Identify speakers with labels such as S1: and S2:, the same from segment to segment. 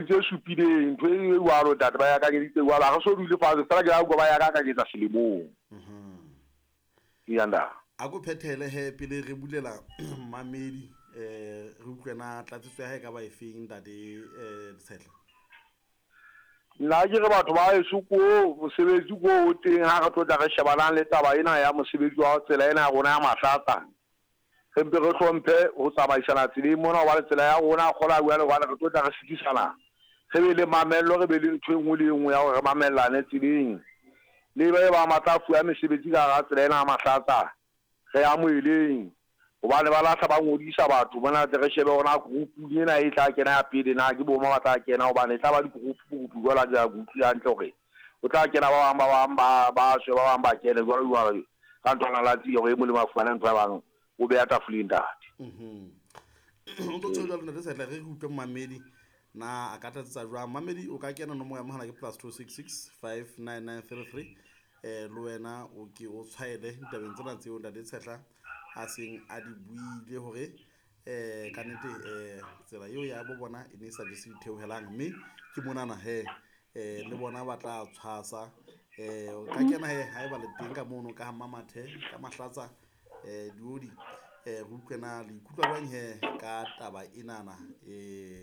S1: Tse supileng, ntho e jwalo, ntate, ba e akanyeditse jwalo. Ha re so dule fatshe, feela ke la utlwa ba e akanyetsa selemong. Eya, ntate.
S2: A ko phethele he pele re bulela mmamedi re utlwe na tlatsetso ya hae e ka ba efeng ntate Letshehla.
S1: Nna ke re batho ba heso ko mosebetsi ko o teng ha re tlo tla re shebanang le taba ena ya mosebetsi wa tsela ena ya rona ya Mahlatsa. Re mpe re hlomphe ho tsamaisana tseleng mona hobane tsela ya rona kgola jwale hobane re tlo tla re sitisana. Re be le mamello, re be le ntho e nngwe le e nngwe ya hore re mamellane tseleng. Le ba bang ba tla fuwa mesebetsi ka hara tsela ena ya Mahlatsa, re amoheleng hobane ba lahla ba ngodisa batho mona tle re shebe hore na group-ung ena e tla kena ya pele na ke bo mang ba tla kena hobane e tla ba di-group group jwalo ha ke utlwile hantle hore ho tla kena ba bang ba bang ba ba tswe ba bang ba kene jwalo jwalo ka nthwana la tsie hore e molemo a fumane ntho ya bang o beya tafoleng ntate.
S2: O ntso tjho jwalo ntate Setla re utlwe mmamedi na a ka tlatsetsa jwang. Mmamedi o ka kena nomoro ya mohala ke +266 59933 le wena o ke o tshwaele ditabeng tsena tseo ntate Tshehla a seng a di buile hore ka nnete tsela eo ya bo bona e ne e sa jese ditheohelang mme ke monana he le bona ba tla tshwasa o ka kena he haeba le teng ka mono ka Mmamathe ka Mahlatsa diodi re utlwe na le ikutlwa jwang he ka taba enana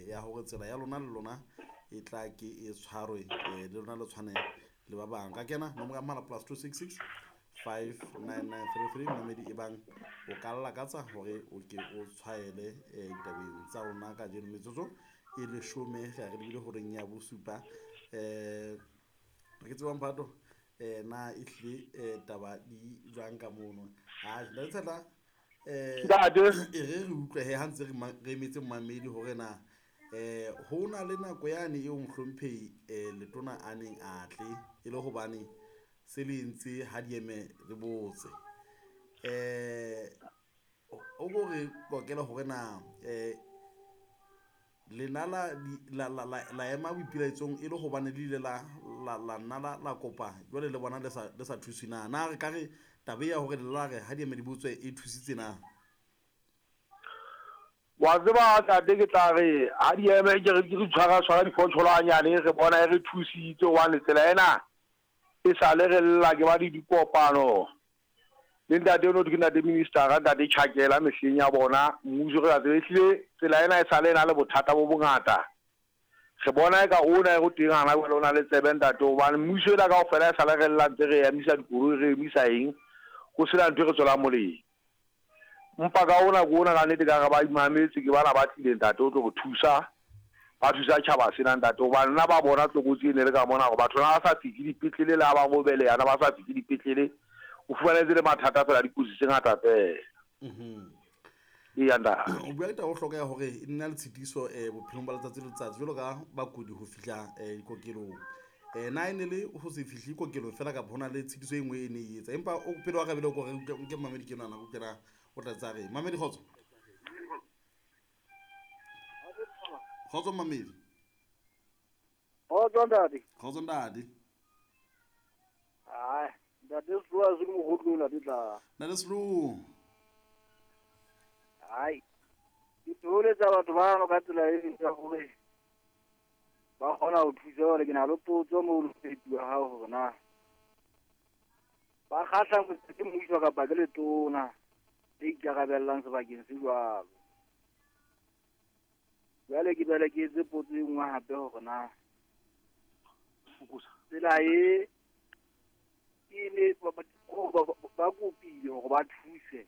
S2: ya hore tsela ya lona le lona e tla ke e tshwarwe le lona le tshwane le ba bang. Ka kena nomoro ya mohala +266 59933 mmamedi e bang o ka lakatsa hore o ke o tshwaele ditabeng tsa rona kajeno metsotso e leshome re ya re lebile horeng ya bosupa re ke tsebang phato na ehlile taba di jwang ka mono ha ntate Tshehla
S1: Ntate.
S2: e re re utlwe he ha ntse re re emetse mmamedi hore na ho na le nako yane eo mohlomphehi letona a neng a tle e le hobane se le entse ha di eme le botse o ko re qoqele hore na lena la la la la la ema boipelaetsong e le hobane le ile la la la nna la la kopa jwale le bona le sa le sa thuswe na na re ka re taba ya hore le la re ha di eme di botswe e thusitse na?
S1: Wa tseba ntate ke tla re ha di eme ke re ke re tshwara tshwara diphotholo hanyane re bona e re thusitse hobane tsela ena e sale re lla ke ba le dikopano le ntate ono ke ntate minister ntate Chakela mehleng ya bona mmuso re sa tsebe ehlile tsela ena e sale e na le bothata bo bongata. Re bona eka ona e go teng hana jwale o na le tsebe ntate hobane mmuso ena kaofela e sale re lla ntse re emisa dikoloi re emisa eng ho sena ntho e re tswelang molemo. Mpa ka ona ke ona ka nnete ka re ba imametse ke bana ba tlileng ntate o tlo re thusa ba thusa tjhaba sena ntate hobane nna ba bona tlokotsi e ne le ka mona hore batho na ba sa fihle dipetlele le ha ba robeleha na ba sa fihle dipetlele o fumanetse le mathata fela dikotsi tse ngata fela. Eya ntate.
S2: O bua ka taba e bohlokwa ya hore e nna le tshitiso bophelong ba letsatsi le letsatsi jwalo ka bakudi ho fihla dikokelong. Na e ne le ho se fihle kokelong fela kapa ho na le tshitiso e nngwe e ne e etsa? Empa o pele wa rabele o ko re nke mmamedi ke nana o kena o tla tsa re. Mmamedi kgotso. Kgotso mmamedi.
S3: Kgotso ntate.
S2: Kgotso ntate.
S3: Ai, ntate Slo a se mogotlo ntate tla.
S2: Ntate Slo.
S3: Ai. Ke tholetsa batho ba ka tsela e ya hore ba kgona ho thusa hore ke na le potso mo lefeti wa hao hore na ba kgahla ke mmuso kapa ke letona le ikarabellang sebakeng se jwalo. Jwale ke bele ke etse potso e nngwe hape hore na tsela e e ne ba kopile hore ba thuse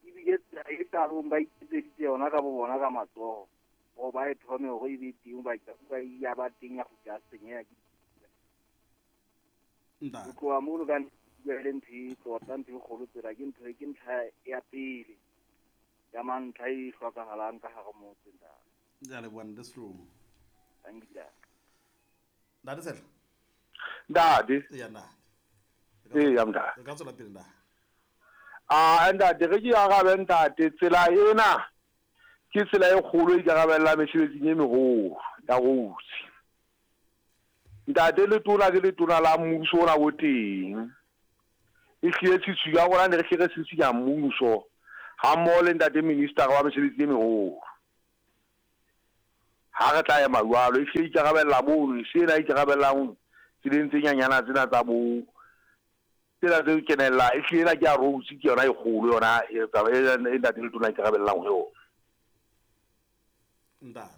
S3: ebile tsela e qalong ba iketseditse yona ka bo bona ka matsoho hore ba e thome hore e be teng ba ya ba teng ya kgutla senyeha ke
S2: Ntate.
S3: ho tloha mono ka le ntho e tota ntho e kgolo tsela ke ntho ke ntlha ya pele ya mantlha e hlokahalang ka hare motse ntate.
S2: Ya leboha ntate Slo.
S3: Thank you.
S2: Ntate Tshehla.
S1: Ntate.
S2: Eya ntate.
S1: Eya ntate.
S2: Re ka tswela pele ntate.
S1: Ah ntate re ke arabe ntate tsela ena ke tsela e kgolo e ikarabella mesebetsing e meholo ya roads. Ntate letona ke letona la mmuso ona bo teng. E hlile tshitshinyo ya rona ne re hle re tshitshinya mmuso ha mmoho le ntate minister wa mesebetsi e meholo. Ha re tla ema jwalo, e hlile ikarabella mono, e se ena ikarabellang tseleng tse nyanyana tsena tsa bo tsena tse kenella, e hlile ena ke ya roads, ke yona e kgolo yona e taba e ntate Letona ikarabellang ho yona.
S2: Ntate.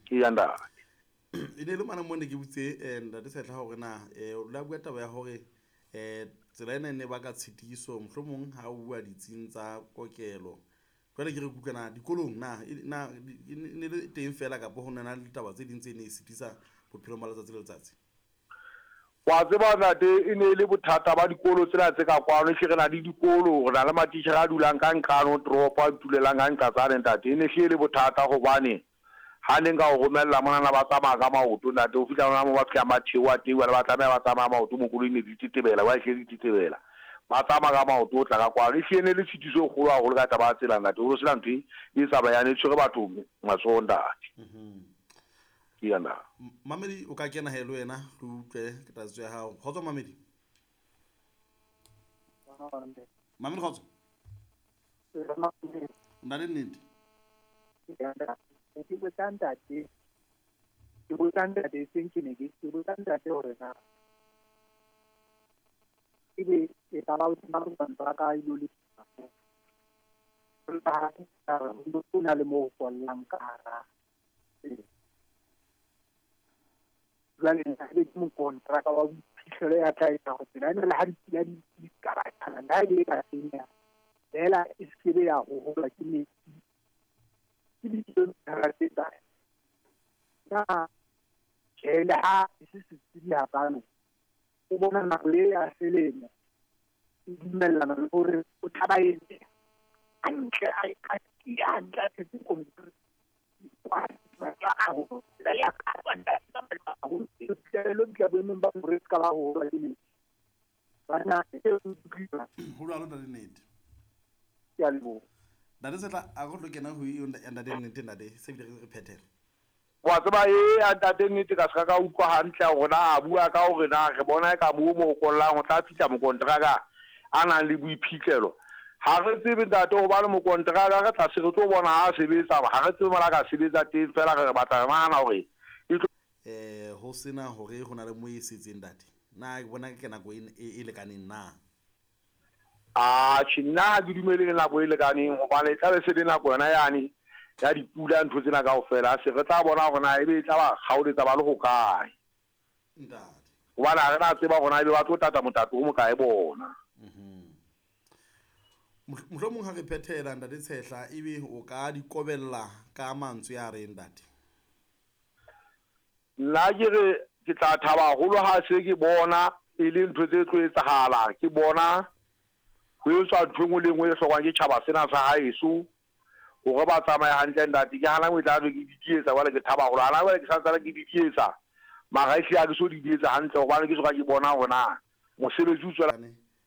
S1: Ke ya ntate.
S2: E ne le mane mo ne ke botse ntate Sehla hore na o la bua taba ya hore tsela ena e ne baka tshitiso mohlomong ha o bua ditsing tsa kokelo. Jwale ke re kutlwa na dikolong na na e ne le teng fela kapa ho na le ditaba tse ding tse ne e sitisa bophelong ba letsatsi le letsatsi?
S1: Wa tseba ntate, e ne e le bothata ba dikolo tsena tse ka kwano. Ehlile re na le dikolo, re na le matitjhere a dulang ka nqane ho toropo, a itulelang ka nqa tsane ntate. E ne hlile e le bothata hobane ha ne nka o romella monana ba tsamaya ka maoto ntate, ho fihla hona moo ba fihlang ba theoha teng, jwale ba tlameha ba tsamaya maoto mo koloi ne di tetebela, jwale hlile di tetebela. Ba tsamaya ka maoto ho tla ka kwano. Ehlile e ne le tshitiso e kgolo haholo ka taba ya tsela ntate, ho no sena ntho e tsamayang, e tshwere batho matsoho ntate. Ke ya na.
S2: Mamedi, o ka kena he le wena re utlwe tlatsetso ya hao. Kgotso Mamedi. Mamedi kgotso. Nna le nnete.
S4: Ke botsa ntate, ke botsa ntate seng ke ne ke botsa ntate hore na ebe e ka ba ba ka ilo le o na le mo ho kollang ka hara. Jwale ebe ke mokontraka wa boiphihlelo ya tla etsa hore tsela ena le ha dipula di ka ba tshwana, le ha e le ka senyeha, feela e se ke be ya hoholwa ke metsi. Ke dikilomitara tse kae? Na tjhe, le ha e se setsebi hakalo, o bona nako e ya selemo e dumellana le hore o tla ba etse hantle, a tiya hantle, a tshetse concrete.
S2: Ho jwalo ntate Nnete.
S4: Ke a leboha.
S2: Ntate Sehla, a re tlo kena ho eo ntate Nnete, ntate, se bile re phethela.
S1: Wa tseba e ntate Nnete ka se ka utlwa hantle hore na a bua ka hore na re bona e ka moo mo kollang ho tla fihla mokontraka a nang le boiphihlelo. Ha re tsebe ntate hobane mokontraka re tla se re tlo bona ha sebetsa, ha re tsebe mola ka sebetsa teng, fela re batla re nahana hore e tlo
S2: ho sena hore ho na le mo e setseng ntate. Na ke bona ke nako e lekaneng na?
S1: Atjhe, nna ha ke dumele le nako e lekaneng hobane e tla be se le nako yona yane ya dipula ntho tsena kaofela, se re tla bona hore na ebe e tla ba kgaoletsa ba le hokae.
S2: Ntate.
S1: Hobane ha re na tseba hore na ebe ba tlo tata motato o mokae bona.
S2: Mohlomong ha re phethela ntate Tshehla, ebe o ka di kobella ka mantswe a reng ntate?
S1: Nna ke re ke tla thaba haholo ha se ke bona e le ntho tse tlo etsahala, ke bona ho etswa ntho e nngwe le nngwe e hlokwang ke tjhaba sena sa haeso hore ba tsamaye hantle ntate. Ke hana e tla be ke didietsa jwale, ke thaba haholo. Hana jwale ke santsane ke didietsa, mara ehlile ha ke so didietsa hantle hobane ke soka ke bona hore na mosebetsi o tswela.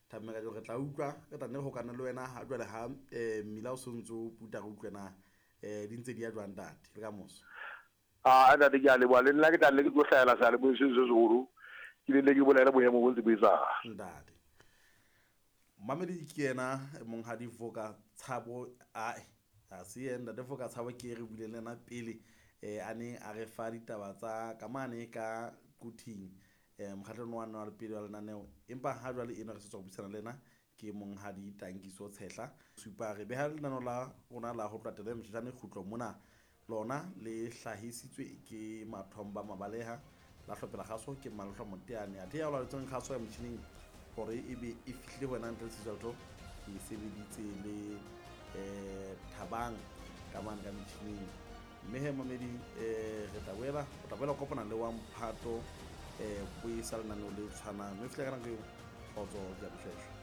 S2: Thabeng ka re tla utlwa, re tla nne ho kana le wena ha jwale ha mmila o sontso o puta re utlwe na di ntse di ya jwang ntate le ka moso.
S1: Ah ntate ke a leboha, le nna ke tla nne ke tlo hlahela seyalemoyeng seno se seholo, ke ne ke bolele boemo bo ntse bo etsahala.
S2: Ntate. Mamedi ke yena monghadi Voka Tshabo, ae ha se yena ntate Voka Tshabo ke re buileng le yena pele a ne a re fa ditaba tsa kamane ka Quthing mokgahlelong wa nna wa pele wa lenaneo, empa ha jwale eno re sa tswa go buisana le yena ke monghadi Tankiso Tshehla. Supa re beha lenaneo la rona la ho tlatela motjhetjane kgutlo mona, lona le hlahisitswe ke Mathomba Mabaleha la hlophela kgaso ke Malehlo Moteane, athe ya laoletseng kgaso ya motjhining hore ebe e fihlile ho wena ntle le Sesotho, ke sebeditse le Thabang ka mane ka metjhining. Mme he mamedi re tla boela, o tla boela kopana le wa mphato boisa lenaneo le tshwanang. Mme fihla ka nako eo, kgotso ke ya boshweshwe.